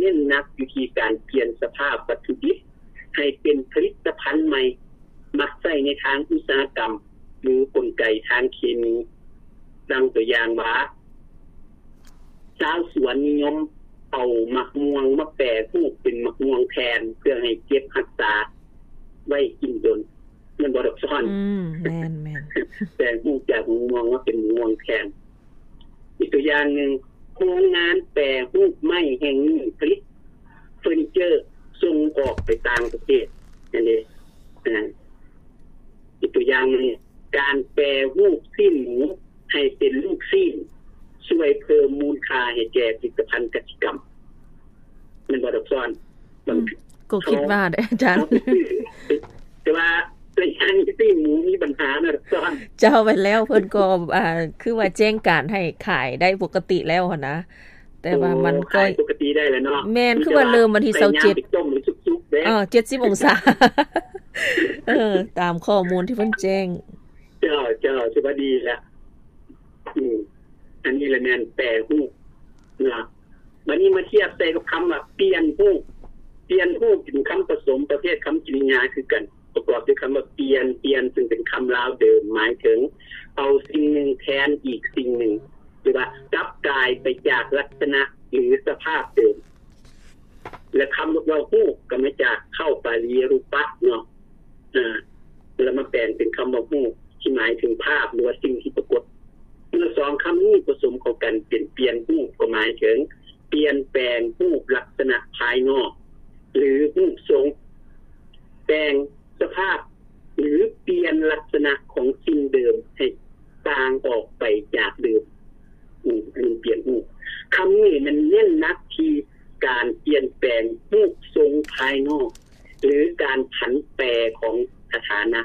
ນັ້ນໜັກຢູ່ທີ່ການປ່ຽນສະພາບວັດຖຸດິບໃຫ້ເປັນຜະລິດຕະພັນໃໝ່ ມັກໃຊ້ໃນທາງອຸດສາຫະກຳ ຫຼື ກົນໄກທາງເຄມີ. ດັ່ງຕົວຢ່າງວ່າ ຊາວສວນນິຍົມເອົາໝາກມ່ວງມາແປຮູບເປັນໝາກມ່ວງແຜ່ນ ເພື່ອໃຫ້ເກັບຮັກສາໄວ້ກິນດົນ. ແມ່ນບໍ່ດອກຊອນ? ອືມ ແມ່ນໆ ແປຮູບຈາກໝາກມ່ວງມາເປັນໝາກມ່ວງແຜ່ນ. ອີກຕົວຢ່າງໜຶ່ງ, ໂຮງງານແປຮູບໄມ້ແຫ່ງນີ້ຜະລິດເຟີນິເຈີສົ່ງອອກໄປຕ່າງປະເທດ ຫັ້ນເດ. ອາ ອີກຕົວຢ່າງໜຶ່ງ, ການແປຮູບຊີ້ນໝູໃຫ້ເປັນລູກຊີ້ນ ຊ່ວຍເພີ່ມມູນຄ່າໃຫ້ແກ່ຜະລິດຕະພັນກະສິກຳ. ແມ່ນບໍ່ດອກຊອນ? ອືມ ກໍຄິດວ່າເດ້ອາຈານ. ແຕ່ວ່າໄລຍະນີ້ຊີ້ນໝູມີບັນຫານະດອກຊອນ. ເຈົ້າ ແມ່ນແລ້ວ ເພິ່ນກໍ ອ່າ ຄືວ່າແຈ້ງການໃຫ້ຂາຍໄດ້ປົກກະຕິແລ້ວຫັ້ນນະ. ແຕ່ວ່າມັນ ໂອ້ ກໍ ຂາຍປົກກະຕິໄດ້ແລ້ວເນາະ. ແມ່ນ ຄືວ່າເລີ່ມວັນທີຊາວເຈັດ ໄລຍະໄປຕົ້ມໃຫ້ສຸກໆເດ້. ເອີ ເຈັດສິບອົງສາ. ເອີ ຕາມຂໍ້ມູນທີ່ເພິ່ນແຈ້ງ. ເຈົ້າ ເຈົ້າ ຖືວ່າດີແລ້ວ. ອືມ ອັນນີ້ລະແມ່ນແປຮູບເນາະ. ບັດນີ້ມາທຽບໃສ່ກັບຄຳວ່າປ່ຽນຮູບ. ປ່ຽນຮູບເປັນຄຳປະສົມປະເພດຄຳກິລິຍາຄືກັນ ປະກອບດ້ວຍຄຳວ່າປ່ຽນ, ປ່ຽນ ຊຶ່ງເປັນຄຳລາວເດີມ ໝາຍເຖິງເອົາສິ່ງໜຶ່ງແທນອີກສິ່ງໜຶ່ງ ຫຼືວ່າກັບກາຍໄປຈາກລັກສະນະ ຫຼື ສະພາບເດີມ. ແລະ ຄຳວ່າຮູບກໍມາຈາກເຄົ້າປາລີ ຮູປະ ເນາະ ອາ ແລ້ວມາແປງເປັນຄຳວ່າຮູບ ທີ່ໝາຍເຖິງພາບ ຫຼືວ່າສິ່ງທີ່ປາກົດ. ເມື່ອສອງຄຳນີ້ປະສົມເຂົ້າກັນເປັນປ່ຽນຮູບ ກໍໝາຍເຖິງປ່ຽນແປງຮູບລັກສະນະພາຍນອກ ຫຼື ຮູບຊົງ, ແປງສະພາບ ຫຼື ປ່ຽນລັກສະນະຂອງສິ່ງເດີມໃຫ້ຕ່າງອອກໄປຈາກເດີມ. ອືມ ອັນນີ້ປ່ຽນຮູບ. ຄຳນີ້ມັນເນັ້ນໜັກທີ່ການປ່ຽນແປງຮູບຊົງພາຍນອກ ຫຼື ການຜັນແປຂອງສະຖານະ,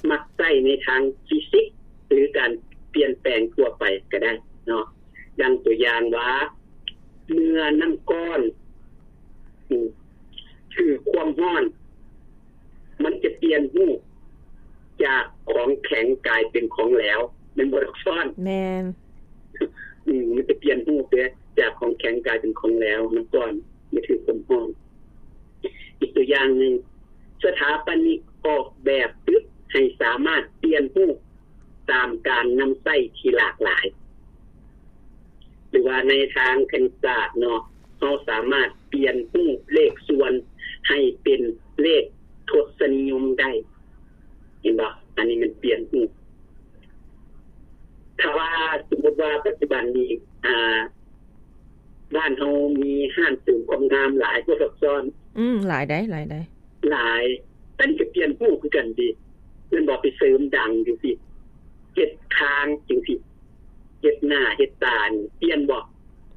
ມັກໃຊ້ໃນທາງຟີຊິກ ຫຼື ການປ່ຽນແປງທົ່ວໄປກໍໄດ້ເນາະ. ດັ່ງຕົວຢ່າງວ່າ ເມື່ອນ້ຳກ້ອນ ອືມ ຖືກຄວາມຮ້ອນ ມັນຈະປ່ຽນຮູບຈາກຂອງແຂງກາຍເປັນຂອງແຫຼວ ແມ່ນບໍ່ດອກຊອນ? ແມ່ນ. ອືມ ມັນຈະປ່ຽນຮູບເດ້ ຈາກຂອງແຂງກາຍເປັນຂອງແຫຼວ ມັນກ່ອນ ມັນຖືກຄວາມຮ້ອນ. ອີກຕົວຢ່າງໜຶ່ງ, ສະຖາປະນິກອອກແບບຕຶກໃຫ້ສາມາດປ່ຽນຮູບຕາມການນຳໃຊ້ທີ່ຫຼາກຫຼາຍ. ຫຼືວ່າໃນທາງຄະນິດສາດເນາະ, ເຮົາສາມາດປ່ຽນຮູບເລກສ່ວນໃຫ້ເປັນເລກທົດສະນິຍົມໄດ້. ເຫັນບໍ່? ອັນນີ້ມັນປ່ຽນຮູບ. ຖ້າວ່າສົມມຸດວ່າປັດຈຸບັນນີ້ ອ່າ ບ້ານເຮົາມີຮ້ານເສີມຄວາມງາມຫຼາຍບໍ່ດອກຊອນ? ອືມ ຫຼາຍໃດ໋ ຫຼາຍໃດ໋. ຫຼາຍ. ອັນນີ້ກໍປ່ຽນຮູບຄືກັນຕິ ແມ່ນບໍ່? ໄປເສີມດັງຈັ່ງຊີ້ ເຮັດຄາງຈັ່ງຊີ້ ເຮັດໜ້າເຮັດຕານີ້ ປ່ຽນບໍ່?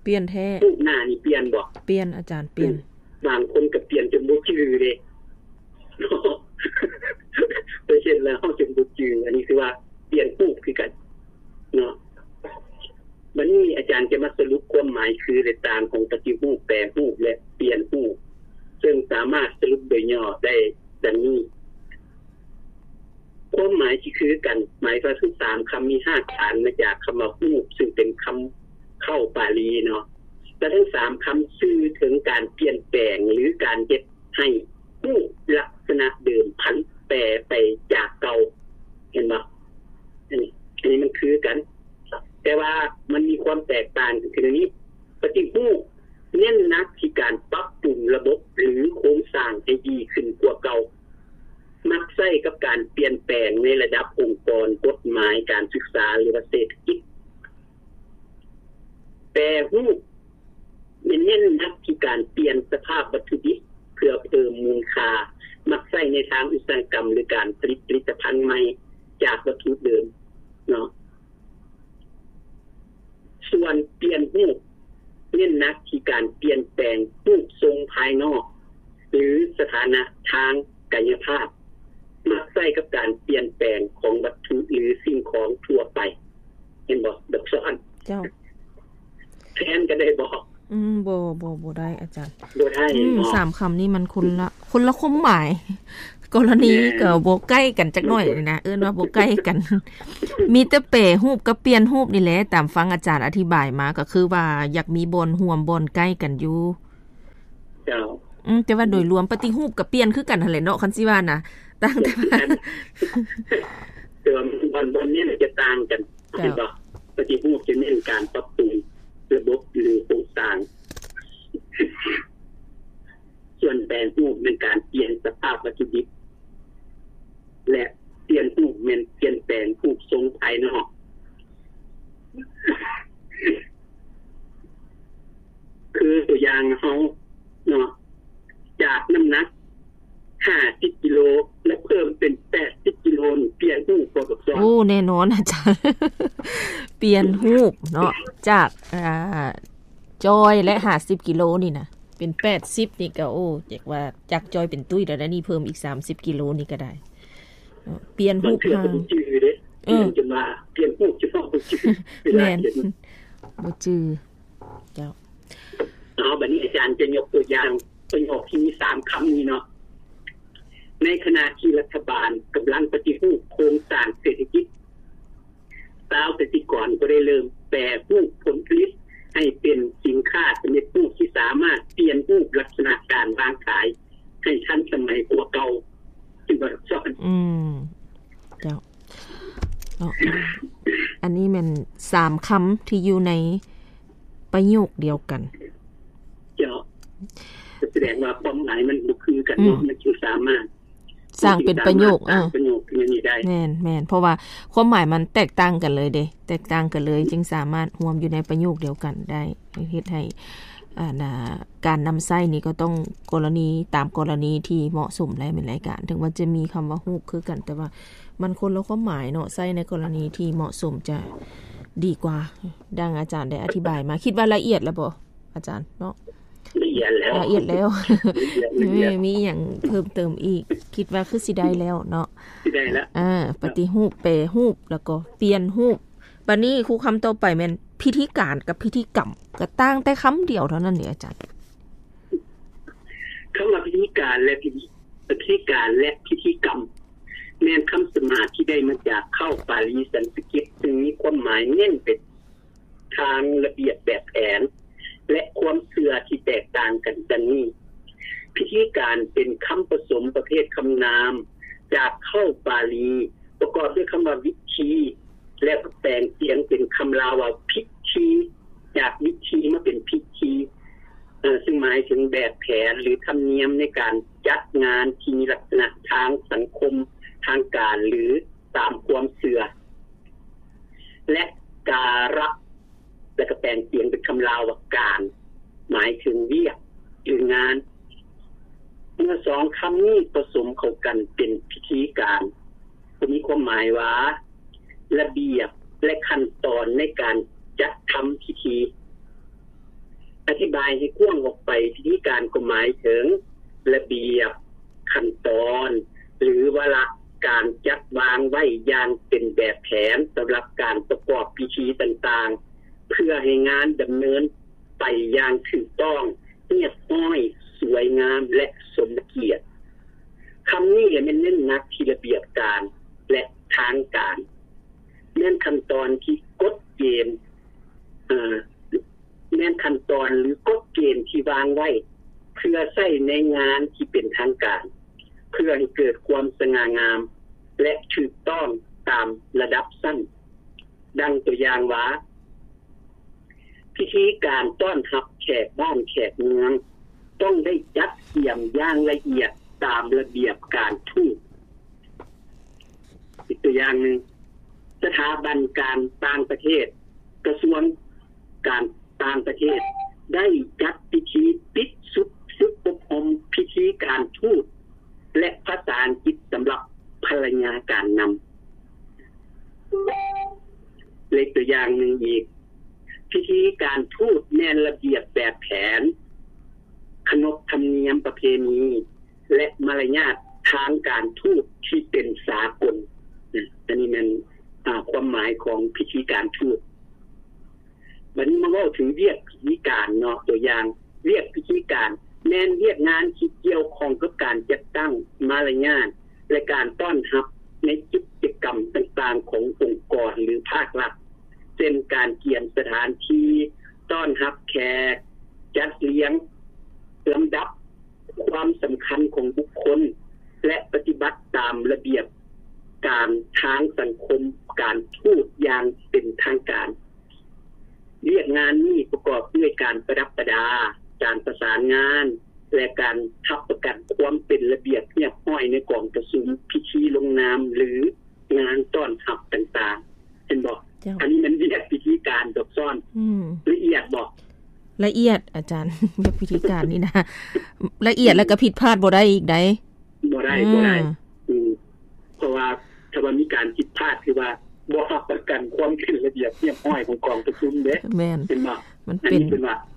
ປ່ຽນແທ້. ຮູບໜ້ານີ້ປ່ຽນບໍ່? ປ່ຽນ ອາຈານ ປ່ຽນ. ອືມ ບາງຄົນກໍປ່ຽນຈົນບໍ່ຈື່ເດ້. ໄປເຮັດແລ້ວເຮົາຈຶ່ງບໍ່ຈື່. ອັນນີ້ຄືວ່າປ່ຽນຮູບຄືກັນເນາະ. ບັດນີ້ອາຈານຈະມາສະຫຼຸບຄວາມໝາຍຄື ແລະ ຕ່າງຂອງປະຕິຮູບ, ແປຮູບ ແລະ ປ່ຽນຮູບ, ເຊິ່ງສາມາດສະຫຼຸບໂດຍຫຍໍ້ໄດ້ດັ່ງນີ້. ຄວາມໝາຍທີ່ຄືກັນ ໝາຍວ່າທັງສາມຄຳມີຮາກຖານມາຈາກຄຳວ່າຮູບ ຊຶ່ງເປັນຄຳເຄົ້າປາລີເນາະ ແລະ ທັງສາມຄຳສື່ເຖິງການປ່ຽນແປງ ຫຼື ການເຮັດໃຫ້ຮູບລັກສະນະເດີມຜັນແປໄປຈາກເກົ່າ. ເຫັນບໍ່? ອັນນີ້ ອັນນີ້ມັນຄືກັນ ແຕ່ວ່າມັນມີຄວາມແຕກຕ່າງກັນຄືນີ້. ປະຕິຮູບເນັ້ນໜັກທີ່ການປັບປຸງລະບົບ ຫຼື ໂຄງສ້າງໃຫ້ດີຂຶ້ນກວ່າເກົ່າ. ມັກໃຊ້ກັບການປ່ຽນແປງໃນລະດັບອົງກອນ, ກົດໝາຍ, ການສຶກສາ ຫຼືວ່າເສດຖະກິດ. ແປຮູບແມ່ນເນັ້ນໜັກທີ່ການປ່ຽນສະພາບວັດຖຸດິບເພື່ອເພີ່ມມູນຄ່າ, ມັກໃຊ້ໃນທາງອຸດສາຫະກຳ ຫຼື ການຜະລິດຜະລິດຕະພັນໃໝ່ຈາກວັດຖຸເດີມເນາະ. ສ່ວນປ່ຽນຮູບ ເນັ້ນໜັກທີ່ການປ່ຽນແປງຮູບຊົງພາຍນອກ ຫຼື ສະຖານະທາງກາຍະພາບ, ມັກໃຊ້ກັບການປ່ຽນແປງຂອງວັດຖຸ ຫຼື ສິ່ງຂອງທົ່ວໄປ. ເຫັນບໍ່ ດອກຊອນ? ເຈົ້າ. ແທນກັນໄດ້ບໍ່? ອືມ ບໍ່ ບໍ່ ບໍ່ໄດ້ອາຈານ. ບໍ່ໄດ້. ອືມ ເນາະ ສາມຄຳນີ້ມັນຄົນລະ ຄົນລະຄວາມໝາຍ. ກໍລະນີ ແມ່ນ ກໍບໍ່ໃກ້ກັນຈັກໜ້ອຍນີ້ນະ, ເອີ້ນວ່າບໍ່ໃກ້ກັນ. ມີແຕ່ແປຮູບກັບປ່ຽນຮູບນີ້ແຫຼະ, ຕາມຟັງອາຈານອະທິບາຍມາ ກໍຄືວ່າຢາກມີບ່ອນຮ່ວມບ່ອນໃກ້ກັນຢູ່. ເຈົ້າ ອືມ ແຕ່ວ່າໂດຍລວມປະຕິຮູບກໍປ່ຽນຄືກັນຫັ້ນແຫຼະເນາະ ຄັນຊິວ່ານະ ຕ່າງແຕ່ວ່າ ແຕ່ວ່າບ່ອນ ບ່ອນນີ້ຈະຕ່າງກັນ ເຈົ້າ ເຫັນບໍ່? ປະຕິຮູບຈະເນັ້ນການປັບປຸງລະບົບ ຫຼື ໂຄງສ້າງ, ສ່ວນແປງຮູບແມ່ນການປ່ຽນສະພາບວັດຖຸດິບ ແລະ ປ່ຽນຮູບແມ່ນປ່ຽນແປງຮູບຊົງພາຍນອກ. ຄືຕົວຢ່າງເຮົາເນາະ ຈາກນ້ຳໜັກຫ້າສິບກິໂລ ແລະ ເພີ່ມເປັນແປດສິບກິໂລນີ້ ປ່ຽນຮູບບໍ່ ໂອ້ ແນ່ນອນອາຈານ ປ່ຽນຮູບເນາະ ຈາກ ອ່າ ຈ່ອຍ ແລະ ຫ້າສິບກິໂລນີ້ນະ ເປັນແປດສິບນີ້ກໍ ໂອ້ ຢາກວ່າຈາກຈ່ອຍເປັນຕຸ້ຍແລ້ວ ນີ້ເພີ່ມອີກສາມສິບກິໂລນີ້ກໍໄດ້ເນາະ ປ່ຽນຮູບ ບາງເທື່ອກໍບໍ່ຈື່ເດ້ ເອີ ປ່ຽນຈົນວ່າ ປ່ຽນຮູບຈົນວ່າບໍ່ຈື່ ເວລາ ແມ່ນ ຂຽນ ບໍ່ຈື່ ເຈົ້າ. ເອົາ ບັດນີ້ອາຈານຈະຍົກຕົວຢ່າງປະໂຫຍກທີ່ມີສາມຄຳນີ້ເນາະ. ໃນຂະນະທີ່ລັດຖະບານກຳລັງປະຕິຮູບໂຄງສ້າງເສດຖະກິດ, ຊາວກະສິກອນກໍໄດ້ເລີ່ມແປຮູບຜົນຜະລິດໃຫ້ເປັນສິນຄ້າສຳເລັດຮູບທີ່ສາມາດປ່ຽນຮູບລັກສະນະການວາງຂາຍໃຫ້ທັນສະໄໝກວ່າເກົ່າ. ອືມ ເຈົ້າ. ເນາະ ອັນນີ້ແມ່ນສາມຄຳທີ່ຢູ່ໃນປະໂຫຍກດຽວກັນ. ເຈົ້າ ສະແດງວ່າຄວາມໝາຍມັນບໍ່ຄືກັນເນາະ ອືມ ມັນຈຶ່ງສາມາດສ້າງເປັນປະໂຫຍກ ເອີ ປະໂຫຍກນີ້ໄດ້. ແມ່ນໆ ເພາະວ່າຄວາມໝາຍມັນແຕກຕ່າງກັນເລີຍເດ້ ແຕກຕ່າງກັນເລີຍ ຈຶ່ງສາມາດຮວມຢູ່ໃນປະໂຫຍກດຽວກັນໄດ້ ເຮັດໃຫ້ ອັນ ອ່າ ການນຳໃຊ້ນີ້ກໍຕ້ອງກໍລະນີ ຕາມກໍລະນີທີ່ເໝາະສົມແຫຼະ ແມ່ນລາຍການ ເຖິງວ່າຈະມີຄຳວ່າຮູບຄືກັນ ແຕ່ວ່າມັນຄົນລະຄວາມໝາຍເນາະ ໃຊ້ໃນກໍລະນີທີ່ເໝາະສົມຈະດີກວ່າ. ດັ່ງອາຈານໄດ້ອະທິບາຍມາ ຄິດວ່າລະອຽດແລ້ວບໍ່ອາຈານເນາະ? ລະອຽດແລ້ວ ລະອຽດແລ້ວ ລະອຽດ ລະອຽດ ມີ ມີຫຍັງເພີ່ມເຕີມອີກ? ຄິດວ່າຄືຊິໄດ້ແລ້ວເນາະ ຊິໄດ້ແລ້ວ ເອີ ປະຕິຮູບ ແປຮູບ ແລ້ວກໍປ່ຽນຮູບ. ບັດນີ້ຄູຄຳຕໍ່ໄປແມ່ນພິທີການກັບພິທີກຳ ກໍຕ່າງແຕ່ຄຳດຽວເທົ່ານັ້ນເດອາຈານ. ຄຳວ່າພິທີການ ແລະ ພິທີ ພິທີການ ແລະ ພິທີກຳ ແມ່ນຄຳສະມາທີ່ໄດ້ມາຈາກເຄົ້າປາລີສັນສະກິດ ຊຶ່ງມີຄວາມໝາຍເນັ້ນໄປທາງລະບຽບແບບແຜນ ແລະ ຄວາມເຊື່ອທີ່ແຕກຕ່າງກັນ ດັ່ງນີ້: ພິທີການເປັນຄຳປະສົມປະເພດຄຳນາມຈາກເຄົ້າປາລີ ປະກອບດ້ວຍຄຳວ່າວິທີ ແລ້ວກໍແປງສຽງເປັນຄຳລາວວ່າພິທີ ຈາກວິທີມາເປັນພິທີ ເຊິ່ງໝາຍເຖິງແບບແຜນ ຫຼື ທຳນຽມໃນການຈັດງານທີ່ມີລັກສະນະທາງສັງຄົມ, ທາງການ ຫຼື ຕາມຄວາມເຊື່ອ ແລະ ກາລະ ແລ້ວກໍແປງສຽງເປັນຄຳລາວວ່າການ ໝາຍເຖິງວຽກ ຫຼື ງານ. ເມື່ອສອງຄຳນີ້ປະສົມເຂົ້າກັນເປັນພິທີການ ກໍມີຄວາມໝາຍວ່າ ລະບຽບ ແລະ ຂັ້ນຕອນໃນການຈັດທຳພິທີ. ອະທິບາຍໃຫ້ກວ້າງອອກໄປ, ພິທີການກໍໝາຍເຖິງລະບຽບ, ຂັ້ນຕອນ ຫຼື ວາລະການຈັດວາງໄວ້ຢ່າງເປັນແບບແຜນສຳລັບການປະກອບພິທີຕ່າງໆ ເພື່ອໃຫ້ງານດຳເນີນໄປຢ່າງຖືກຕ້ອງ, ຮຽບຮ້ອຍ, ສວຍງາມ ແລະ ສົມກຽດ. ຄຳນີ້ແຫຼະແມ່ນເນັ້ນໜັກທີ່ລະບຽບການ ແລະ ທາງການ. ແມ່ນຂັ້ນຕອນທີ່ກົດເກນ, ເອີ ແມ່ນຂັ້ນຕອນ ຫຼື ກົດເກນທີ່ວາງໄວ້ ເພື່ອໃຊ້ໃນງານທີ່ເປັນທາງການ, ເພື່ອໃຫ້ເກີດຄວາມສະຫງ່າງາມ ແລະ ຖືກຕ້ອງຕາມລະດັບຊັ້ນ. ດັ່ງຕົວຢ່າງວ່າ, ພິທີການຕ້ອນຮັບແຂກບ້ານແຂກເມືອງ ຕ້ອງໄດ້ຈັດກຽມຢ່າງລະອຽດຕາມລະບຽບການທູດ. ອີກຕົວຢ່າງໜຶ່ງ, ສະຖາບັນການຕ່າງປະເທດ, ກະຊວງການຕ່າງປະເທດ ໄດ້ຈັດພິທີປິດຊຸດຝຶກອົບຮົມພິທີການທູດ ແລະ ພາສາອັງກິດສຳລັບພັນລະຍາການນຳ. ເລກຕົວຢ່າງໜຶ່ງອີກ, ພິທີການທູດແມ່ນລະບຽບແບບແຜນ, ຂະໜົບທຳນຽມປະເພນີ ແລະ ມາລະຍາດທາງການທູດທີ່ເປັນສາກົນ. ອັນນີ້ແມ່ນ ອາ ຄວາມໝາຍຂອງພິທີການທູດ. ບັດນີ້ມາເວົ້າເຖິງວຽກພິທີການເນາະ, ຕົວຢ່າງ, ວຽກພິທີການແມ່ນວຽກງານທີ່ກ່ຽວຂ້ອງກັບການຈັດຕັ້ງ, ມາລະຍາດ ແລະ ການຕ້ອນຮັບໃນກິດຈະກຳຕ່າງໆຂອງອົງກອນ ຫຼື ພາກລັດ, ເຊັ່ນ ການກຽມສະຖານທີ່ຕ້ອນຮັບແຂກ, ຈັດລຽງລຳດັບ ຄວາມສຳຄັນຂອງບຸກຄົນ ແລະ ປະຕິບັດຕາມລະບຽບການທາງສັງຄົມການທູດຢ່າງເປັນທາງການ. ວຽກງານນີ້ປະກອບດ້ວຍການປະດັບປະດາ, ການປະສານງານ ແລະ ການຮັບປະກັນຄວາມເປັນລະບຽບຮຽບຮ້ອຍໃນກອງປະຊຸມ, ພິທີລົງນາມ ຫຼື ງານຕ້ອນຮັບຕ່າງໆ. ເຫັນບໍ່? ເຈົ້າ. ອັນນີ້ມັນວຽກພິທີການຊັບຊ້ອນ. ອືມ. ລະອຽດບໍ່? ລະອຽດ ອາຈານ. ວຽກພິທີການນີ້ນະ ລະອຽດ ແລ້ວກໍຜິດພາດບໍ່ໄດ້ອີກໃດ໋. ບໍ່ໄດ້ ອືມ ບໍ່ໄດ້. ອືມ. ເພາະວ່າຖ້າວ່າມີການຜິດພາດ ຄືວ່າບໍ່ຮັບປະກັນຄວາມເປັນລະບຽບຮຽບຮ້ອຍຂອງກອງປະຊຸມເດ້. ແມ່ນ. ເຫັນບໍ່? ມັນເປັນ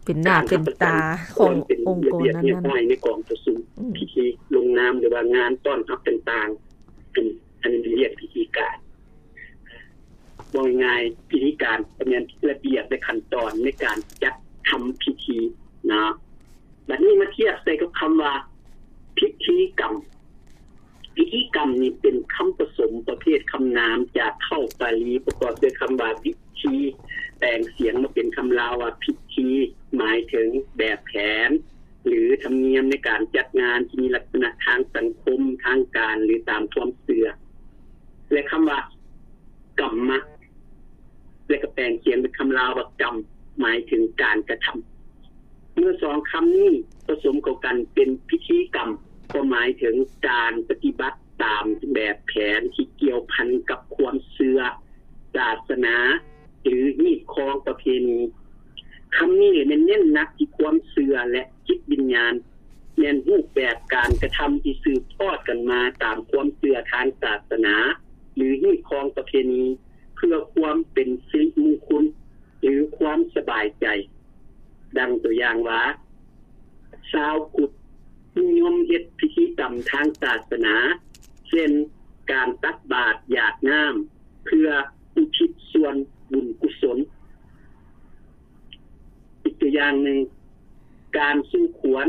ເປັນໜ້າເປັນຕາຂອງອົງກອນນັ້ນໆ ໃນກອງປະຊຸມ, ອືມ ພິທີລົງນາມ ຫຼືວ່າງານຕ້ອນຮັບຕ່າງໆ. ອັນ ອັນນີ້ເປັນວຽກພິທີການ. ເວົ້າງ່າຍໆ ພິທີການກໍແມ່ນລະບຽບ ແລະ ຂັ້ນຕອນໃນການຈັດທຳພິທີເນາະ. ບັດນີ້ມາທຽບໃສ່ກັບຄຳວ່າພິທີກຳ. ພິທີກຳນີ້ເປັນຄຳປະສົມປະເພດຄຳນາມຈາກເຄົ້າປາລີ ປະກອບດ້ວຍຄຳວ່າວິທີ ແປງສຽງມາເປັນຄຳລາວວ່າພິທີ ໝາຍເຖິງແບບແຜນ ຫຼື ທຳນຽມໃນການຈັດງານທີ່ມີລັກສະນະທາງສັງຄົມ, ທາງການ ຫຼື ຕາມຄວາມເຊື່ອ ແລະ ຄຳວ່າກຳມະ ແລະ ກໍແປງສຽງເປັນຄຳລາວວ່າກຳ ໝາຍເຖິງການກະທຳ. ເມື່ອສອງຄຳນີ້ປະສົມເຂົ້າກັນເປັນພິທີກຳ ກໍໝາຍເຖິງການປະຕິບັດຕາມແບບແຜນທີ່ກ່ຽວພັນກັບຄວາມເຊື່ອ, ສາສະໜາ ຫຼື ຮີດຄອງປະເພນີ. ຄຳນີ້ແມ່ນເນັ້ນໜັກທີ່ຄວາມເຊື່ອ ແລະ ຈິດວິນຍານ, ແມ່ນຮູບແບບການກະທຳທີ່ສືບທອດກັນມາຕາມຄວາມເຊື່ອທາງສາສະໜາ ຫຼື ຮີດຄອງປະເພນີ ເພື່ອຄວາມເປັນສິລິມຸງຄຸນ ຫຼື ຄວາມສະບາຍໃຈ. ດັ່ງຕົວຢ່າງວ່າ ຊາວພຸດນິຍົມເຮັດພິທີກຳທາງສາສະໜາ ເຊັ່ນ ການຕັກບາດ ຢາດນ້ຳ ເພື່ອອຸທິດສ່ວນບຸນກຸສົນ. ອີກຕົວຢ່າງໜຶ່ງ, ການສູ່ຂວັນ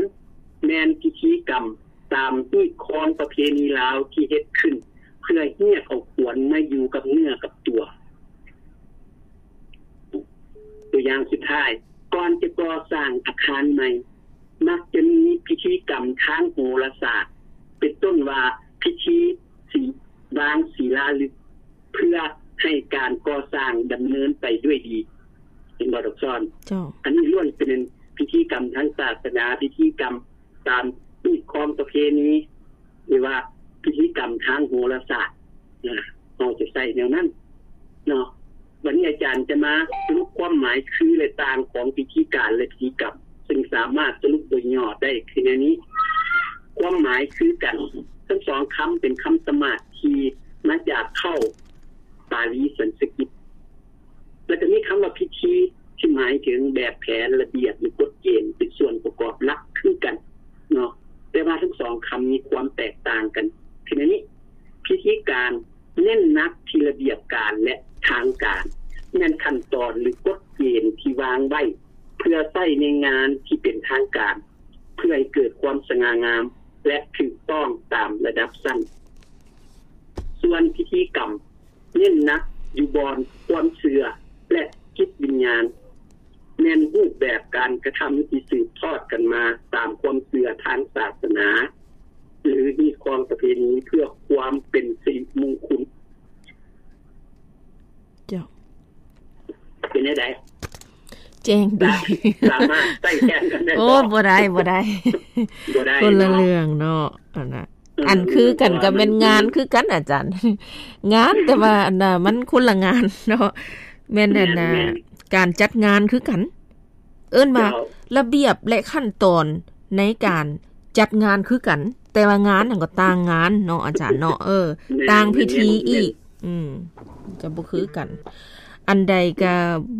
ແມ່ນພິທີກຳຕາມຮີດຄອງປະເພນີລາວທີ່ເຮັດຂຶ້ນເພື່ອຮຽກເອົາຂວັນມາຢູ່ກັບເນື້ອກັບຕົວ. ຕົວຢ່າງສຸດທ້າຍ, ກ່ອນຈະກໍ່ສ້າງອາຄານໃໝ່ ມັກຈະມີພິທີກຳທາງໂຫລະສາດ ເປັນຕົ້ນວ່າພິທີສີ ວາງສີລາລຶກ ເພື່ອໃຫ້ການກໍ່ສ້າງດຳເນີນໄປດ້ວຍດີ. ເຫັນບໍ່ດອກຊອນ? ເຈົ້າ. ອັນນີ້ລ້ວນເປັນພິທີກຳທາງສາສະໜາ, ພິທີກຳຕາມຮີດຄອງປະເພນີ ຫຼືວ່າພິທີກຳທາງໂຫລະສາດນະ ເຮົາຈະໃຊ້ແນວນັ້ນເນາະ. ບັດນີ້ອາຈານຈະມາສະຫຼຸບຄວາມໝາຍຄື ແລະ ຕ່າງຂອງພິທີການ ແລະ ພິທີກຳ ຊຶ່ງສາມາດສະຫຼຸບໂດຍຫຍໍ້ໄດ້ຄືແນວນີ້. ຄວາມໝາຍຄືກັນ, ທັງສອງຄຳເປັນຄຳສະມາດທີ່ມາຈາກເຄົ້າປາລີສັນສະກິດ. ແລ້ວກໍມີຄຳວ່າພິທີ ທີ່ໝາຍເຖິງແບບແຜນ, ລະບຽບ ຫຼື ກົດເກນ ເປັນສ່ວນປະກອບຫຼັກຄືກັນເນາະ, ແຕ່ວ່າທັງສອງຄຳມີຄວາມແຕກຕ່າງກັນ. ຄືໃນນີ້ ພິທີການເນັ້ນໜັກທີ່ລະບຽບການ ແລະ ທາງການ, ແມ່ນຂັ້ນຕອນ ຫຼື ກົດເກນທີ່ວາງໄວ້ເພື່ອໃຊ້ໃນງານທີ່ເປັນທາງການ, ເພື່ອໃຫ້ເກີດຄວາມສະຫງ່າງາມ ແລະ ຖືກຕ້ອງຕາມລະດັບຊັ້ນ. ສ່ວນພິທີກຳ ເນັ້ນໜັກຢູ່ບ່ອນຄວາມເຊື່ອ ແລະ ຈິດວິນຍານ, ແມ່ນຮູບແບບການກະທຳທີ່ສືບທອດກັນມາຕາມຄວາມເຊື່ອທາງສາສະໜາ ຫຼື ຮີດຄອງປະເພນີ ເພື່ອຄວາມເປັນສິລິມຸງຄຸນ. ເຈົ້າ. ເປັນແນວໃດ? ແຈ້ງດີ. ສາ ສາມາດໃຊ້ແທນກັນໄດ້ບໍ່? ໂອ້ ບໍ່ໄດ້ ບໍ່ໄດ້ ບໍ່ໄດ້ ຄົນລະເລື່ອງເນາະ ເນາະ ອັນນ່າ. ເອີ ອັນຄືກັນກໍແມ່ນງານຄືກັນອາຈານ ງານ ແຕ່ວ່າອັນນ່າ ມັນຄົນລະງານເນາະ. ແມ່ນອັນນ່າ ແມ່ນ ແມ່ນ ການຈັດງານຄືກັນ ເອີ້ນວ່າ ເຈົ້າ ລະບຽບ ແລະ ຂັ້ນຕອນໃນການຈັດງານຄືກັນ ແຕ່ວ່າງານຫັ້ນກໍຕ່າງງານເນາະອາຈານເນາະ. ເອີ ແມ່ນ ຕ່າງພິທີ ແມ່ນ ອີກ ແມ່ນ ອືມ ຈະບໍ່ຄືກັນ. ອັນໃດກໍ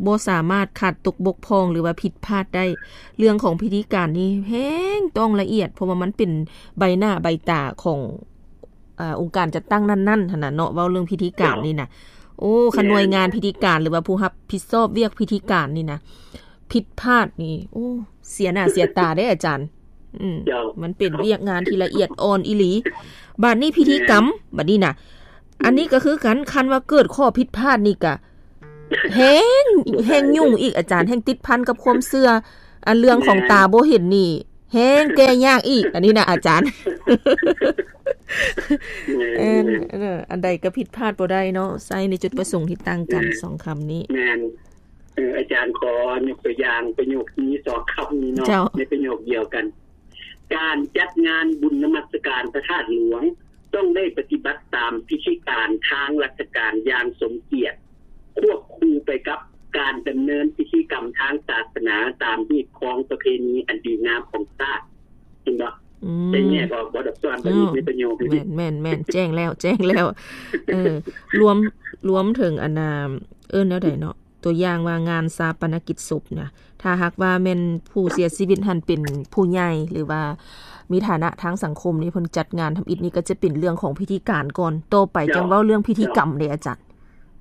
ບໍ່ສາມາດຂາດຕົກບົກຜ່ອງ ຫຼືວ່າຜິດພາດໄດ້. ເລື່ອງຂອງພິທີການນີ້ແຮງຕ້ອງລະອຽດ ເພາະວ່າມັນເປັນໃບໜ້າໃບຕາຂອງ ອາ ອົງການຈັດຕັ້ງນັ້ນໆຫັ້ນນະເນາະ. ເວົ້າເລື່ອງພິທີການນີ້ນະ ໂອ້ ຄັນໜ່ວຍງານພິທີການ ຫຼືວ່າຜູ້ຮັບຜິດຊອບວຽກພິທີການນີ້ນະ ຜິດພາດນີ້ ໂອ້ ເສຍໜ້າເສຍຕາເດ້ອາຈານ. ອືມ ເຈົ້າ ມັນເປັນວຽກງານທີ່ລະອຽດອ່ອນອີ່ຫຼີ. ບາດນີ້ພິທີກຳ ບາດນີ້ນະ ອັນນີ້ກໍຄືກັນ ຄັນວ່າເກີດຂໍ້ຜິດພາດນີ້ກະແຮງ ແຮງຫຍຸ້ງອີກອາຈານ ແຮງຕິດພັນກັບຄວາມເຊື່ອ. ອັນເລື່ອງຂອງຕາບໍ່ເຫັນນີ້ ແຮງແກ້ຍາກອີກ ອັນນີ້ນະອາຈານ. ແມ່ນ ເອີ ອັນໃດກໍຜິດພາດບໍ່ໄດ້ເນາະ ໃຊ້ໃນຈຸດປະສົງທີ່ຕ່າງກັນ ແມ່ນ ສອງຄຳນີ້. ແມ່ນ ເອີ ອາຈານຂໍຍົກຕົວຢ່າງປະໂຫຍກນີ້ສອງຄຳນີ້ເນາະ ເຈົ້າ ໃນປະໂຫຍກດຽວກັນ. ການຈັດງານບຸນນະມັດສະການພະທາດຫຼວງ ຕ້ອງໄດ້ປະຕິບັດຕາມພິທີການທາງລັດຖະການຢ່າງສົມກຽດ ຄວບຄູ່ໄປກັບການດຳເນີນພິທີກຳທາງສາສະໜາຕາມຮີດຄອງປະເພນີອັນດີງາມຂອງຊາດ. ເຫັນບໍ່? ອືມ ໄດ້ແຍກອອກບໍ່ ດອກສອນ ເອີ ໃນປະໂຫຍກນີ້? ແມ່ນໆໆ ແຈ້ງແລ້ວ ແຈ້ງແລ້ວ. ເອີ ລວມ ລວມເຖິງອັນນ່າ ເອີ້ນແນວໃດເນາະ? ຕົວຢ່າງວ່າງານຊາປະນະກິດສົບນະ ຖ້າຫາກວ່າແມ່ນຜູ້ເສຍຊີວິດຫັ້ນເປັນຜູ້ໃຫຍ່ ຫຼືວ່າມີຖານະທາງສັງຄົມນີ້ ເພິ່ນຈັດງານທຳອິດນີ້ກໍຈະເປັນເລື່ອງຂອງພິທີການກ່ອນ ຕໍ່ໄປ ເຈົ້າ ຈັ່ງເວົ້າເລື່ອງພິທີກຳເດ້ອາຈານ.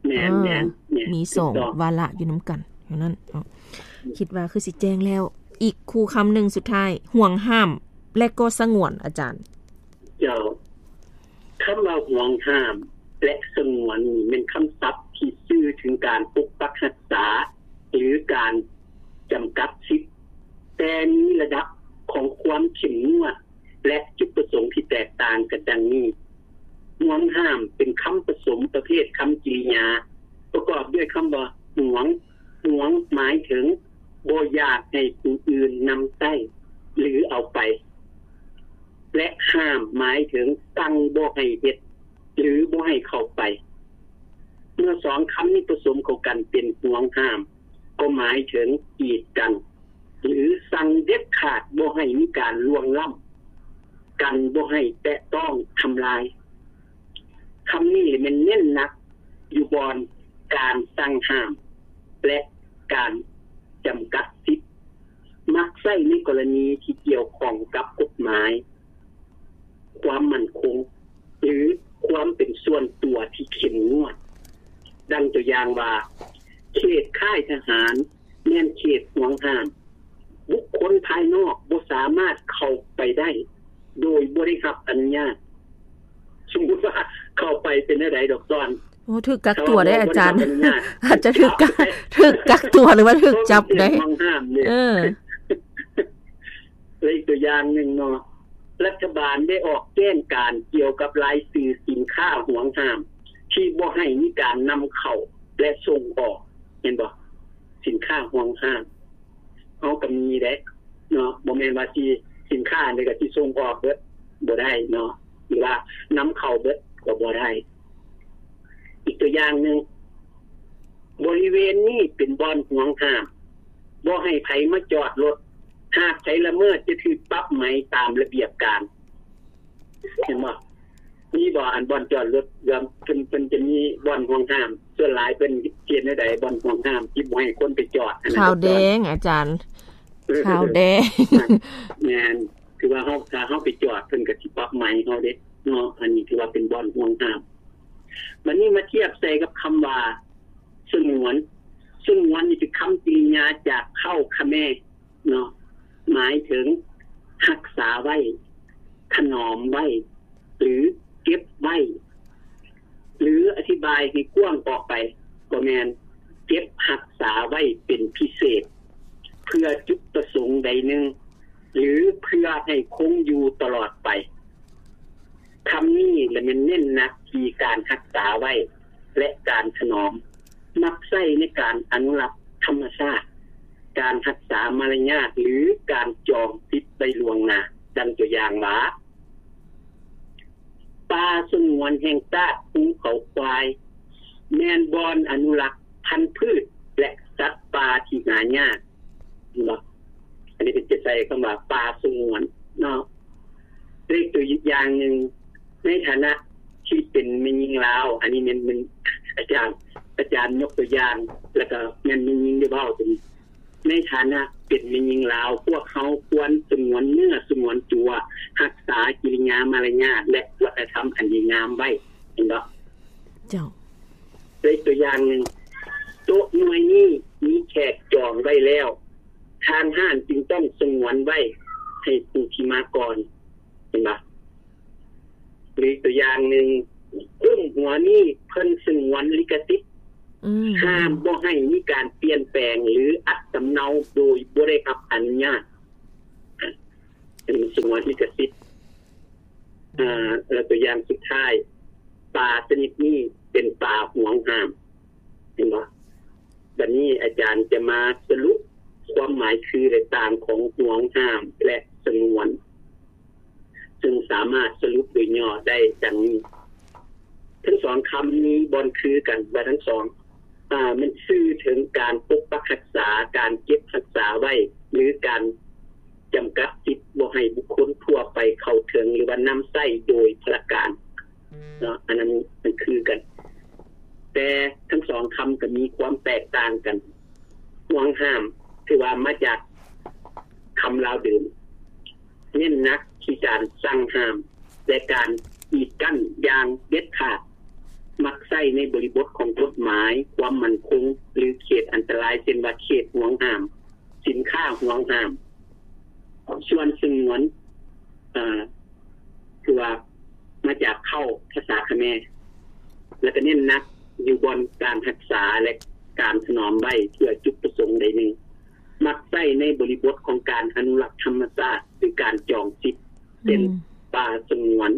ແມ່ນ ເອີ ແມ່ນ ແມ່ນ ມີສອງ ຖືກຕ້ອງ ວາລະຢູ່ນຳກັນ ເທົ່ານັ້ນເນາະ. ອືມ ຄິດວ່າຄືຊິແຈ້ງແລ້ວ. ອີກຄູ່ຄຳໜຶ່ງສຸດທ້າຍ ຫວງຫ້າມ ແລະກໍສະຫງວນ ອາຈານ. ເຈົ້າ ຄຳວ່າຫວງຫ້າມ ແລະ ສະຫງວນນີ້ແມ່ນຄຳສັບທີ່ສື່ເຖິງການປົກປັກຮັກສາ ຫຼື ການຈຳກັດສິດ, ແຕ່ມີລະດັບຂອງຄວາມເຂັ້ມງວດ ແລະ ຈຸດປະສົງທີ່ແຕກຕ່າງກັນດັ່ງນີ້. ຫວງຫ້າມເປັນຄຳປະສົມປະເພດຄຳກິລິຍາ ປະກອບດ້ວຍຄຳວ່າຫວງ. ຫວງໝາຍເຖິງບໍ່ຢາກໃຫ້ຜູ້ອື່ນນຳໃຊ້ ຫຼື ເອົາໄປ. ແລະ ຫ້າມໝາຍເຖິງສັ່ງບໍ່ໃຫ້ເຮັດ ຫຼື ບໍ່ໃຫ້ເຂົ້າໄປ. ເມື່ອສອງຄຳນີ້ປະສົມເຂົ້າກັນເປັນຫວງຫ້າມ ກໍໝາຍເຖິງກີດກັ້ນ ຫຼື ສັ່ງເດັດຂາດບໍ່ໃຫ້ມີການລ່ວງລ້ຳ ກັນບໍ່ໃຫ້ແຕະຕ້ອງທຳລາຍ. ຄຳນີ້ແມ່ນເນັ້ນໜັກຢູ່ບ່ອນການສັ່ງຫ້າມ ແລະ ການຈຳກັດສິດ, ມັກໃຊ້ໃນກໍລະນີທີ່ກ່ຽວຂ້ອງກັບກົດໝາຍ, ຄວາມໝັ້ນຄົງ ຫຼື ຄວາມເປັນສ່ວນຕົວທີ່ເຂັ້ມງວດ. ດັ່ງຕົວຢ່າງວ່າ ເຂດຄ້າຍທະຫານ ແມ່ນເຂດຫວງຫ້າມ, ບຸກຄົນພາຍນອກບໍ່ສາມາດເຂົ້າໄປໄດ້ໂດຍບໍ່ໄດ້ຮັບອະນຸຍາດ. ສົມມຸດວ່າເຂົ້າໄປເປັນແນວໃດດອກຊອນ? ໂອ້ ຖືກກັກຕົວເດ້ອາຈານ. ອາດຈະຖືກກັກ ຖືກກັກຕົວ ຫຼືວ່າຖືກຈັບໄດ້. ເອີ ແລະ ອີກຕົວຢ່າງໜຶ່ງເນາະ, ລັດຖະບານໄດ້ອອກແຈ້ງການກ່ຽວກັບລາຍຊື່ສິນຄ້າຫວງຫ້າມ ທີ່ບໍ່ໃຫ້ມີການນຳເຂົ້າ ແລະ ສົ່ງອອກ. ເຫັນບໍ່? ສິນຄ້າຫວງຫ້າມ ເຮົາກໍມີເດ້ເນາະ, ບໍ່ແມ່ນວ່າຊິ ສິນຄ້ານີ້ກໍຊິສົ່ງອອກເບິດບໍ່ໄດ້ເນາະ ຫຼືວ່ານຳເຂົ້າເບິດກໍບໍ່ໄດ້. ອີກຕົວຢ່າງໜຶ່ງ, ບໍລິເວນນີ້ເປັນບ່ອນຫວງຫ້າມ, ບໍ່ໃຫ້ໃຜມາຈອດລົດ, ຫາກໃຜລະເມີດຈະຖືກປັບໃໝຕາມລະບຽບການ. ເຫັນບໍ່? ມີບໍ່ ອັນບ່ອນຈອດລົດ ເພິ່ນ ເພິ່ນຈະມີບ່ອນຫ່ວງຫ້າມ? ສ່ວນຫຼາຍເພິ່ນເຮັດແນວໃດ ບ່ອນຫ່ວງຫ້າມ ທີ່ບໍ່ໃຫ້ຄົນໄປຈອດຫັ້ນນະ? ຂາວແດງ ອາຈານ ເອີ ຂາວແດງ. ແມ່ນ ຄືວ່າເຮົາ ຖ້າເຮົາໄປຈອດ ເພິ່ນກໍຊິປັບໃໝເຮົາເດ້ເນາະ. ອັນນີ້ຖືວ່າເປັນບ່ອນຫ່ວງຫ້າມ. ບັດນີ້ມາທຽບໃສ່ກັບຄຳວ່າສະຫງວນ. ສະຫງວນນີ້ເປັນຄຳກິລິຍາຈາກເຄົ້າຂະແມ ເນາະ ໝາຍເຖິງຮັກສາໄວ້, ຖະໜອມໄວ້ ຫຼື ເກັບໄວ້ ຫຼື ອະທິບາຍໃຫ້ກວ້າງອອກໄປ ກໍແມ່ນເກັບຮັກສາໄວ້ເປັນພິເສດ ເພື່ອຈຸດປະສົງໃດໜຶ່ງ ຫຼື ເພື່ອໃຫ້ຄົງຢູ່ຕະຫຼອດໄປ. ຄຳນີ້ລະແມ່ນເນັ້ນໜັກທີ່ການຮັກສາໄວ້ ແລະ ການຖະໜອມ, ມັກໃຊ້ໃນການອະນຸລັກທຳມະຊາດ, ການຮັກສາມາລະຍາດ ຫຼື ການຈອງສິດໄວ້ລ່ວງໜ້າ. ດັ່ງຕົວຢ່າງວ່າ ປ່າສະຫງວນແຫ່ງຊາດພູເຂົາຄວາຍ ແມ່ນບ່ອນອະນຸລັກພັນພືດ ແລະ ສັດປ່າທີ່ຫາຍາກ. ເຫັນບໍ່? ອັນນີ້ເພິ່ນຈະໃຊ້ຄຳວ່າປ່າສະຫງວນເນາະ. ເລກຕົວຢ່າງໜຶ່ງ, ໃນຖານະທີ່ເປັນແມ່ຍິງລາວ, ອັນນີ້ແມ່ນ ແມ່ນອາຈານ ອາຈານຍົກຕົວຢ່າງ ແລ້ວກໍແມ່ນແມ່ຍິງໄດ້ເວົ້າຕົວນີ້. ໃນຖານະເປັນແມ່ຍິງລາວ, ພວກເຮົາຄວນສະຫງວນເນື້ອສະຫງວນຕົວ, ຮັກສາກິລິຍາມາລະຍາດ ແລະ ວັດທະນະທຳອັນດີງາມໄວ້. ເຫັນບໍ່? ເຈົ້າ. ເລກຕົວຢ່າງໜຶ່ງ, ໂຕະໜ່ວຍນີ້ມີແຂກຈອງໄວ້ແລ້ວ, ທາງຮ້ານຈຶ່ງຕ້ອງສະຫງວນໄວ້ໃຫ້ຜູ້ທີ່ມາກ່ອນ. ເຫັນບໍ່? ຫຼື ອີກຕົວຢ່າງໜຶ່ງ, ໂຮງຫົວນີ້ເພິ່ນສະຫງວນລິຂະສິດ, ອືມ ຫ້າມບໍ່ໃຫ້ມີການປ່ຽນແປງ ຫຼື ອັດສຳເນົາໂດຍບໍ່ໄດ້ຮັບອະນຸຍາດ. ສະຫງວນລິຂະສິດ. ອາ ແລ້ວຕົວຢ່າງສຸດທ້າຍ ປາຊະນິດນີ້ເປັນປາຫວງຫ້າມ ເຫັນບໍ່? ບັດນີ້ອາຈານຈະມາສະຫຼຸບຄວາມໝາຍຄື ແລະ ຕ່າງຂອງຫວງຫ້າມ ແລະ ສະຫງວນ ຊຶ່ງສາມາດສະຫຼຸບໂດຍຫຍໍ້ໄດ້ດັ່ງນີ້. ທັງສອງຄຳມີບ່ອນຄືກັນວ່າທັງສອງ ອາ ມັນສື່ເຖິງການປົກປັກຮັກສາ, ການເກັບຮັກສາໄວ້ ຫຼື ການຈຳກັດສິດບໍ່ໃຫ້ບຸກຄົນທົ່ວໄປເຂົ້າເຖິງ ຫຼືວ່ານຳໃຊ້ໂດຍພະລະການເນາະ, ອັນນັ້ນມັນຄືກັນ. ແຕ່ທັງສອງຄຳກໍມີຄວາມແຕກຕ່າງກັນ. ຫວງຫ້າມ ຖືວ່າມາຈາກຄຳລາວເດີມ ເນັ້ນໜັກທີ່ການສັ່ງຫ້າມ ແລະ ການກີດກັ້ນຢ່າງເດັດຂາດ, ມັກໃຊ້ໃນບໍລິບົດຂອງກົດໝາຍຄວາມໝັ້ນຄົງ ຫຼື ເຂດອັນຕະລາຍ ເຊັ່ນວ່າ ເຂດຫວງຫ້າມ, ສິນຄ້າຫວງຫ້າມ. ສ່ວນສະຫງວນ ເອີ ຄືວ່າມາຈາກເຄົ້າ ພາສາຂະແມ ແລ້ວກໍເນັ້ນໜັກຢູ່ບ່ອນການຮັກສາ ແລະ ການຖະໜອມໄວ້ເພື່ອຈຸດປະສົງໃດໜຶ່ງ, ມັກໃຊ້ໃນບໍລິບົດຂອງການອະນຸລັກທຳມະຊາດ ຫຼື ການຈອງສິດ ເຊັ່ນ ອືມ ປ່າສະຫງວນ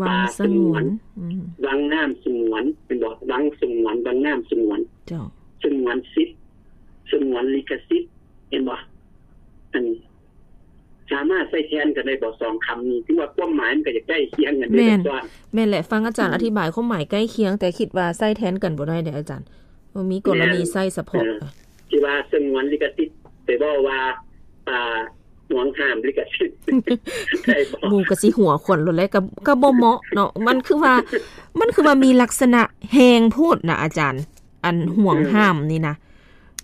ວັງສະຫງວນ ອືມ ວັງນ້ຳສະຫງວນ ແມ່ນບໍ່? ວັງສະຫງວນ ວັງນ້ຳສະຫງວນ ເຈົ້າ ສະຫງວນສິດ ສະຫງວນລິຂະສິດ ເຫັນບໍ່? ອັນ ສາມາດໃຊ້ແທນກັນໄດ້ບໍ່ ສອງຄຳນີ້? ຖືວ່າຄວາມໝາຍມັນກໍຈະໃກ້ຄຽງກັນເດ້ ແມ່ນ ແມ່ນແຫຼະ ຟັງອາຈານ ອືມ ອະທິບາຍຄວາມໝາຍໃກ້ຄຽງ ແຕ່ຄິດວ່າໃຊ້ແທນກັນບໍ່ໄດ້ເດ້ອາຈານ ມັນມີກໍລະນີໃຊ້ສະເພາະ ແມ່ນ ເອີ ທີ່ວ່າສະຫງວນລິຂະສິດ ໄປເວົ້າວ່າ ອ່າ ຫວງຫ້າມລິຂະສິດ ໄດ້ບໍ່? ໝູ່ກໍຊິຫົວຂວັນໂລດແຫຼະ ກໍ ກໍບໍ່ເໝາະເນາະ ມັນຄືວ່າ ມັນຄືວ່າມີລັກສະນະແຮງໂພດນະອາຈານ ອັນຫວງຫ້າມນີ້ນະ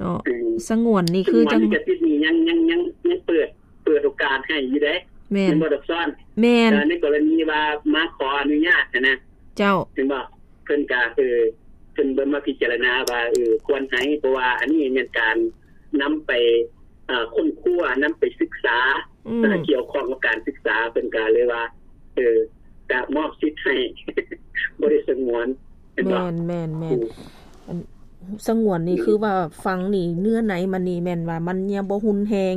ເນາະ ອືມ ສະຫງວນນີ້ຄື ສະຫງວນລິຂະສິດນີ້ຍັງ ຍັງ ຍັງ ຍັງເປີດ ເປີດໂອກາດໃຫ້ຢູ່ເດ້ ແມ່ນ ແມ່ນບໍ່ ດອກຊອນ? ແມ່ນ ໃນກໍລະນີວ່າມາຂໍອະນຸຍາດຫັ້ນນະ ເຈົ້າ ເຫັນບໍ່? ເພິ່ນກະ ເອີ ເພິ່ນເບິ່ງມາພິຈາລະນາວ່າ ເອີ ຄວນໃຫ້ ເພາະວ່າອັນນີ້ແມ່ນການນຳໄປ ເອີ ຄົ້ນຄວ້າ ນຳໄປສຶກສາ ອືມ ເອີ ກ່ຽວຂ້ອງກັບການສຶກສາ ເພິ່ນກະເລີຍວ່າ ເອີ ກະມອບສິດໃຫ້ ບໍ່ໄດ້ສະຫງວນ ເຫັນບໍ່? ແມ່ນ ແມ່ນ ແມ່ນ ອືມ ອັນ ສະຫງວນນີ້ ອືມ ຄືວ່າຟັງນີ້ ເນື້ອໃນມັນນີ້ແມ່ນວ່າມັນຍັງບໍ່ຮຸນແຮງ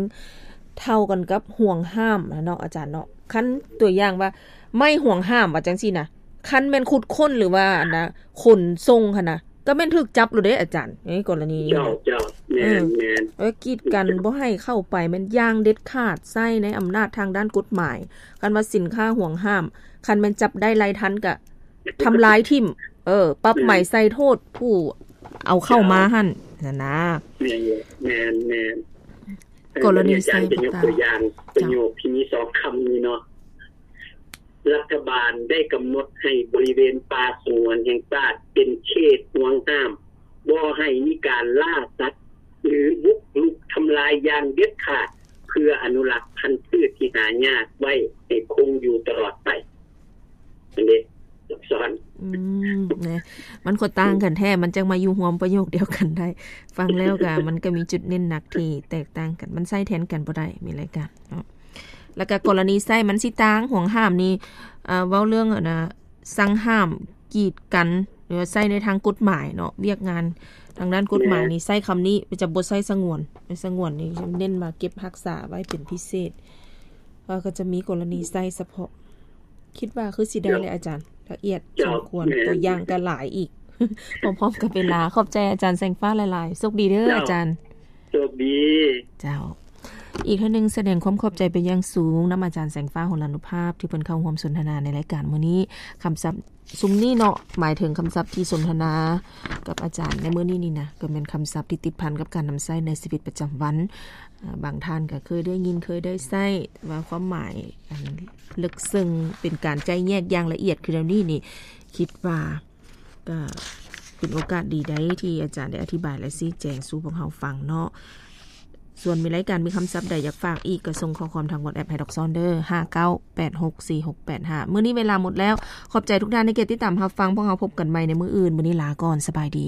ເທົ່າກັນກັບຫວງຫ້າມນະເນາະ ອາຈານເນາະ. ຄັນຕົວຢ່າງວ່າໄມ້ຫວງຫ້າມວ່າຈັ່ງຊີ້ນະ ຄັນແມ່ນຂຸດຄົ້ນ ຫຼືວ່າອັນນະ ຂົນສົ່ງຫັ້ນນະ ກໍແມ່ນຖືກຈັບໂລດເດ້ອາຈານ ໃນກໍລະນີນີ້ນະ ເຈົ້າ ເຈົ້າ ແມ່ນ ເອີ ແມ່ນ ເອີ ກີດກັນບໍ່ໃຫ້ເຂົ້າໄປແມ່ນຢ່າງເດັດຂາດ ໃຊ້ໃນອຳນາດທາງດ້ານກົດໝາຍ. ຄັນວ່າສິນຄ້າຫວງຫ້າມ ຄັນແມ່ນຈັບໄດ້ໄລ່ທັນ ກະທຳລາຍຖິ້ມ ເອີ ປັບໃໝໃສ່ໂທດຜູ້ເອົາເຂົ້າມາຫັ້ນຫັ້ນນະ ເຈົ້າ ແມ່ນ ແມ່ນ ແມ່ນ ກໍລະນີໃຊ້ ອາຈານຈະຍົກຕົວຢ່າງ ເຈົ້າ ປະໂຫຍກທີ່ມີສອງຄຳນີ້ເນາະ ລັດຖະບານໄດ້ກຳນົດໃຫ້ບໍລິເວນປ່າສະຫງວນແຫ່ງຊາດເປັນເຂດຫວງຫ້າມ ບໍ່ໃຫ້ມີການລ່າສັດ ຫຼື ບຸກລຸກທຳລາຍຢ່າງເດັດຂາດ ເພື່ອອະນຸລັກພັນພືດທີ່ຫາຍາກໄວ້ໃຫ້ຄົງຢູ່ຕະຫຼອດໄປ. ອັນນີ້ ສອນ ອືມ ນະ ມັນກໍຕ່າງກັນແທ້ ມັນຈັ່ງມາຢູ່ຮ່ວມປະໂຫຍກດຽວກັນໄດ້. ຟັງແລ້ວກໍ ມັນກໍມີຈຸດເນັ້ນໜັກທີ່ແຕກຕ່າງກັນ ມັນໃຊ້ແທນກັນບໍ່ໄດ້ ມີລາຍການເນາະ ແລ້ວກໍກໍລະນີໃຊ້ມັນຊິຕ່າງ ຫວງຫ້າມນີ້ ເອີ ເວົ້າເລື່ອງ ອັນນະ ສັ່ງຫ້າມ ກີດກັນ ຫຼືວ່າໃຊ້ໃນທາງກົດໝາຍເນາະ ວຽກງານທາງດ້ານກົດໝາຍນີ້ ແມ່ນ ໃຊ້ຄຳນີ້ ຈະບໍ່ໃຊ້ສະຫງວນ ໃນສະຫງວນນີ້ເນັ້ນວ່າເກັບຮັກສາໄວ້ເປັນພິເສດ ວ່າກໍຈະມີກໍລະນີໃຊ້ສະເພາະ. ຄິດວ່າຄືຊິໄດ້ແຫຼະອາຈານ ລະອຽດສົມຄວນ ຕົວຢ່າງກໍຫຼາຍອີກ ພ້ອມໆກັບເວລາ. ຂອບໃຈອາຈານແສງຟ້າຫຼາຍໆ ໂຊກດີເດີອາຈານ ໂຊກດີ ເຈົ້າ. ອີກເທື່ອໜຶ່ງ ສະແດງຄວາມຂອບໃຈເປັນຢ່າງສູງນຳອາຈານແສງຟ້າ ຫົນລານຸພາບ ທີ່ເພິ່ນເຂົ້າຮ່ວມສົນທະນາໃນລາຍການມື້ນີ້. ຄຳສັບຊຸມນີ້ເນາະ ໝາຍເຖິງຄຳສັບທີ່ສົນທະນາກັບອາຈານໃນມື້ນີ້ນີ້ນະ ກໍແມ່ນຄຳສັບທີ່ຕິດພັນກັບການນຳໃຊ້ໃນຊີວິດປະຈຳວັນ. ເອີ ບາງທ່ານກໍເຄີຍໄດ້ຍິນ ເຄີຍໄດ້ໃຊ້ ແຕ່ວ່າຄວາມໝາຍອັນເລິກເຊິ່ງ ເປັນການໄຈ້ແຍກຢ່າງລະອຽດຄືແນວນີ້ນີ້ ຄິດວ່າ ກໍເປັນໂອກາດດີໃດທີ່ອາຈານໄດ້ອະທິບາຍ ແລະ ຊີ້ແຈງສູ່ພວກເຮົາຟັງເນາະ. ສ່ວນມີລາຍການ ມີຄຳສັບໃດຢາກຝາກອີກ ກໍສົ່ງຂໍ້ຄວາມທາງ WhatsApp ໃຫ້ດອກຊອນເດີ ຫ້າເກົ້າແປດຫົກສີ່ຫົກແປດຫ້າ. ມື້ນີ້ເວລາໝົດແລ້ວ. ຂອບໃຈທຸກທ່ານທີ່ເກັບຕິດຕາມຮັບຟັງ. ພວກເຮົາພົບກັນໃໝ່ໃນມື້ອື່ນ. ມື້ນີ້ລາກ່ອນ. ສະບາຍດີ.